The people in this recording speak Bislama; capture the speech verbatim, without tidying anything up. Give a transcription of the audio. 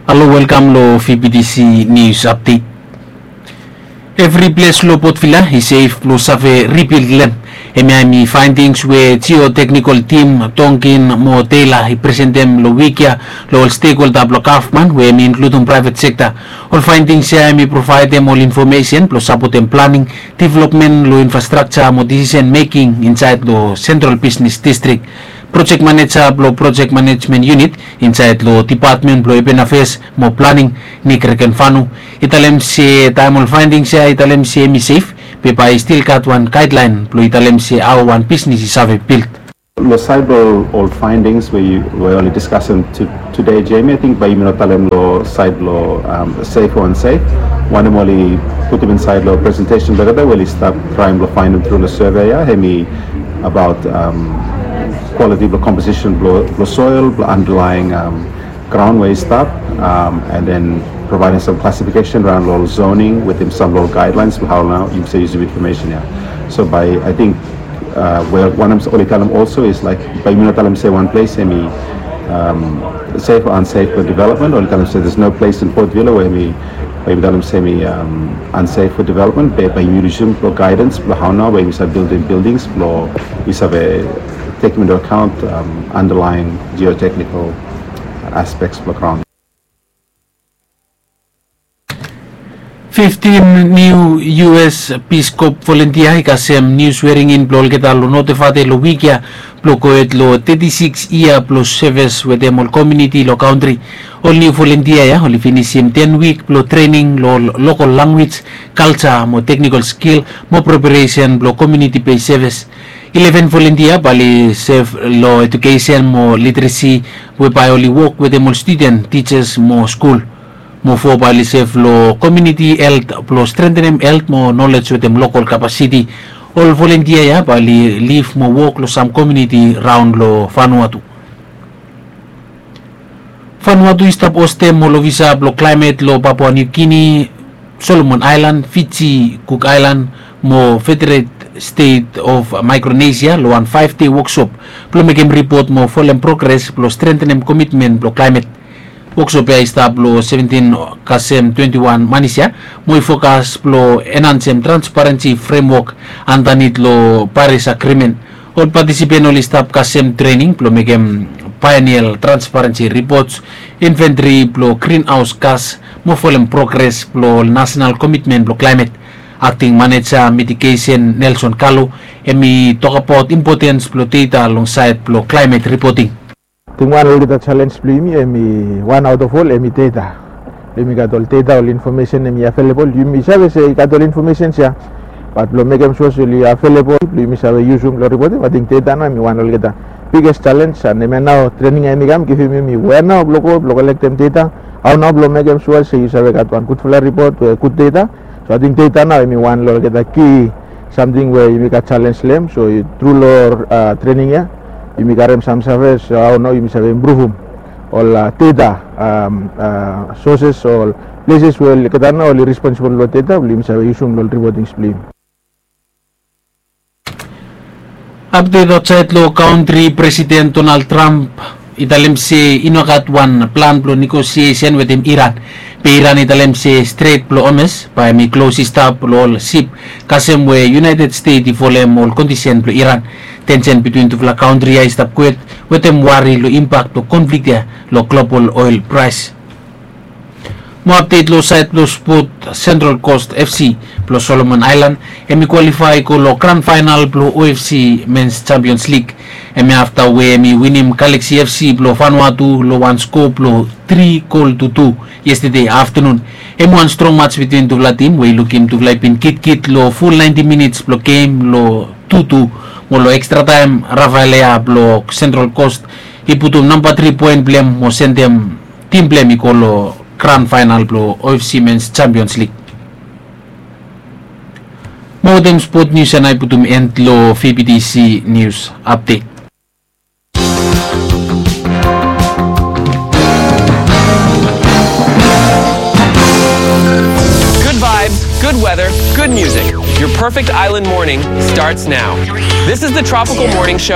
Halo, welkam lo V B T C News Update. Evri ples lo Port Vila i sef blo save ribild lem. Hemia hemi faindings we Geotechnical Team Tonkin mo Taylor i presentem lo wik ya lo ol stekholda blo gavman we hemi inkludum praevet sekta. Ol faindings ya hemi provaedem ol infomesen blo sapotem planing, developmen lo infrastrakja mo disisen meking insaed lo Sentral Bisnes Distrik. Projek maneja blo Projek Manejmen Unit insaed lo Depatmen blo Urban Affairs mo Planing, Nick Regenfanu, i talem se taem ol faindings ya i talem se hemi sef, be bae i stil gat wan gaedlaen blo i talem se hao wan bisnes i save bild. Lo saed blo ol faindings we oli diskasem tede, Jamie, ating bae yumi no talem lo saed blo sef o ansaef. Wanem oli putum insaed lo presentesen blo olgeta we oli stap traem blo faenem tru lo survey ya, hemi abaot kwaliti blo komposisen blo soel, blo andalaen graon we i stap, and then provaedem sam klasifikesen raon lo ol zoning wetem sam lo ol gaedlaens blo hao nao yumi save yusum infomesen ya. So bae ating we wanem oli talem olso is laek bae yumi no talem se wan ples hemi sef o ansaef blo developmen. Oli talem se there's no place in Port Vila we hemi, bae yumi talem se hemi ansaef blo developmen, be bae yumi yusum blo gaedans blo hao nao we yumi save bildim bildings blo yumi save tekem into account underlying geotechnical aspects blo graon. Fiftin niu U S Peace Corps volontia i kasem niu swearing in blo olgeta lo North Efate lo wik ya blo gohed lo teti sikis yia blo sevis wetem ol komuniti lo kantri. Ol niu volontia ya oli finisim ten wik blo trening lo lokol lanwis, kalja mo teknikol skil mo preparesen blo komuniti bes sevis. Ileven volontia bae oli sef lo ejukesen mo literesi we bae oli wok wetem ol studen, tijas mo skul. Mo fo bae oli sef lo komuniti helt blo strengtenem helt mo nolej wetem lokol kapasiti. Ol volontia ya bae oli lif mo wok lo sam komuniti raon lo Vanuatu. Vanuatu i stap hostem ol ofisa blo klaemet lo Papua New Guinea, Solomon Aelan, Fiji, Cook Aelan mo Federated State of Micronesia lo wan faef dei woksop blo mekem ripot mo folem progres blo strengtenem komitmen blo klaemet. Woksop ya i stap lo seventin kasem twenti wan manis ya mo i fokas blo enhansem transparensi fremwok andanit lo Paris Agreement. Ol patisipen oli stap kasem trening blo mekem baenial transparensi ripots, inventri blo grinhaos gas mo folem progres blo ol nasenal komitmen blo klaemet. Akting maneja mitigesen Nelson Kalo hemi tokbaot impotens blo deta long saed blo klaemet ripoting. Ating wan olgeta jalenj blo yumi hemi wan aot of ol hemi deta. Blo yumi gat ol deta, ol infomesen hemi avelebol. Yumi save se i gat ol infomesens ya, bat blo mekem sua se oli avelebol blo yumi save yusum lo ripoting, ating deta nao hemi wan olgeta biges jalenj. An hemia nao trening ya hemi kam givim yumi wea nao blo go blo kolektem deta, hao nao blo mekem sua se yu save gat wan gudfala ripot we gud deta. So ating deta nao hemi wan lo olgeta ki samting we yumi gat jalenj lo hem. So tru lo trening ya yumi karem sam save, so hao nao yumi save impruvum ol deta soses, ol pleses we olgeta nao oli responsibol lo deta blo yumi save yusum lo ol ripotings blo yumi. Apdet aotsaed lo kantri, Presiden Donald Trump i talem se i no gat wan plan blo negosiesen wetem Iran. Be Iran i talem se Stret blo Hormuz bae hemi klos i stap lo ol sip, kasem we United States i folem ol kondisen blo Iran. Tensen bitwin tufala kantri ya i stap kwet wetem wari lo impak blo konflik ya lo global oel praes. Mo apdet lo saed blo spot, Central Coast F C blo Solomon Aelan hemi kwalifae i go lo gran faenal blo O F C Men's Champions League. Hemi afta we hemi winim Galaxy F C blo Vanuatu lo wan skoa blo tri gol tu tu yestede aftanun. Hemi wan strong maj bitwin tufala tim we i lukim tufala i bin kitkit lo ful naenti minits blo gem lo tu tu, mo lo ekstra taem Rafael Leao blo Central Coast i putum namba tri poen blo hem mo sendem tim blo hem i go lo gran faenal blo O F C Men's Champions League. Mo wetem spot nius ya nao i putum en lo V B T C News Update. Good vibes, good weather, good music. Your perfect island morning starts now. This is the Tropical Morning Show.